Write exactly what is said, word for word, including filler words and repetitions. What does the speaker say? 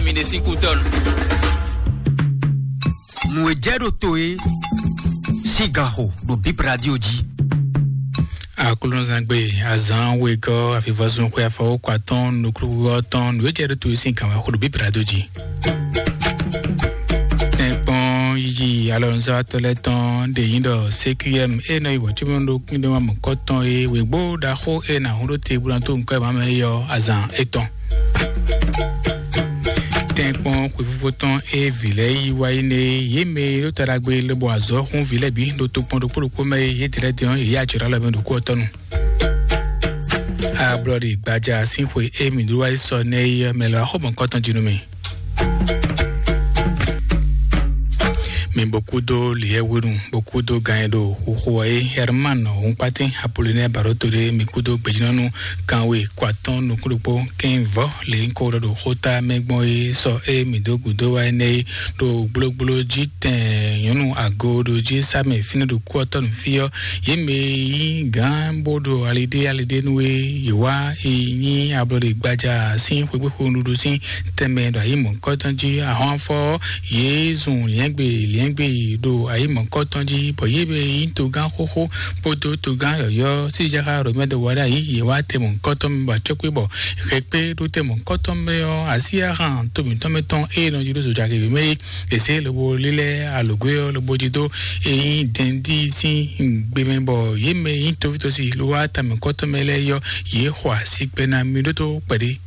Mi ɖe sín kú tɔn. Nǔ e jɛ ɖo to e sín gan xo ɖo Bib Radio jí. Aklúnɔzangbe azán wegɔ́ avivɔzún xwe afɔwókɔ atɔ́ɔ́n nukúnukúnɔ tɔn nǔ e jɛ ɖo to e sín gan wá xo ɖo Bib Radio jí. Tɛ́nkpɔ́n yiyi alɔnuzɔ́watɔ́ lɛ́ɛ tɔn ɖe nyí ɖɔ C Q M e nɔ yi wɔ̌címɔ́ ɖo kpíndɔ́ mɔ̌kɔtɔn e wěgbó ɖaxó e nǎ hún ɖó te bó ná dó nǔkɔ e má mɛ é ɔ́ azǎn étɔn. Tɛ́nkpɔ́n xwefífó tɔn e vǐ lɛ́ɛ yí wá yi nɛ é, yě mɛ e ɖo ta ɖagbe lobɔ azɔ̌ hún vǐ lɛ́ɛ bǐ ɖo tokpɔn ɖokpó ɖokpó mɛ é, yě dlɛ́ din ɔ́, yě yí acɔ̌ ɖó alɔ mɛ ɖo kú ɔ́ tɔ́ nu. Ablɔɖi gbaja sín xwe e mǐ ɖó wá yi sɔ nɛ́ é ɔ́, mɛ lɔ axɔ́mɔkɔ́tɔn jí nú mì. Mi bó kúdó lǐyɛ́wénu, bó kúdó gan e ɖo xuxu ɔ́ é, Herman Hunkpatɛn Apolinɛ Baroto ɖé, mi kúdó gbejínɔ́nú kanwe kɔ atɔ́ɔ́n nukúnɖokpó kɛ́n vɔ́ lě nyí kó ɖɔ ɖo xóta mɛ gbɔn é sɔ é mǐ dó gǔdo wá énɛ́ é ɖo gblógbló jí tɛn nyɔ̌nu ago ɖo jí sá mɛ fínɛ́ ɖo kú ɔ́ tɔ́ nǔ fí ɔ́, yě mɛ e nyí gǎn bó ɖo aliɖé aliɖé nú é, yě wá e nyí ablɔɖe gbaja sín xwégbéxo nuɖuɖu sín tɛnmɛ ɖo ayǐ mɔ̌kɔtɔn jí ahɔ́nfɔ ɔ́, yě zun liɛ́ngbe liɛ́ngbe yi ɖo ayǐ mɔ̌kɔtɔn jí, bɔ yě mɛ e nyí togán xóxó kpódó togán yɔ̌yɔ́ sísɛ́xá Romɛ́ wá ɖo ayǐ, yě wá tɛnmɔ̌kɔtɔn mɛ bɔ acɔ́kpé bɔ xɛkpé ɖó tɛnmɔ̌kɔtɔn mɛ ɔ́, Asyáhan to mǐtɔn mɛ tɔn e nɔ jí ɖó zojagě mɛ é, è zě lobo lílɛ́ alǒgwé ɔ́ lobo jí dó e nyí dɛndí sín gbe mɛ, bɔ yě mɛ e nyí tovítosi ló wá tamɛkɔ́tɔn mɛ lɛ́ɛ yɔ, yě xɔ asi kpɛ ná mì ɖótó kpɛɖé.